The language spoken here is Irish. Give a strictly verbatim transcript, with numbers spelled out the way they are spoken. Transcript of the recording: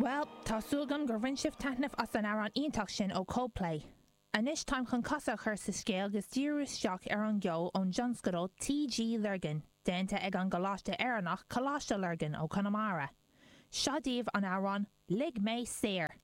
Well, tá súil agam gur bhain sibh taitneamh as an amhrán iontach sin ó Coldplay. Anois táim chun casadh a chur sa scéal agus díriú isteach ar an gceol ón dtionscadal TG Lurgan, déanta ag an gColáiste Éireannach Coláiste Lurgan ó Conamara. Seo daoibh an amhrán Lig Mé Saor.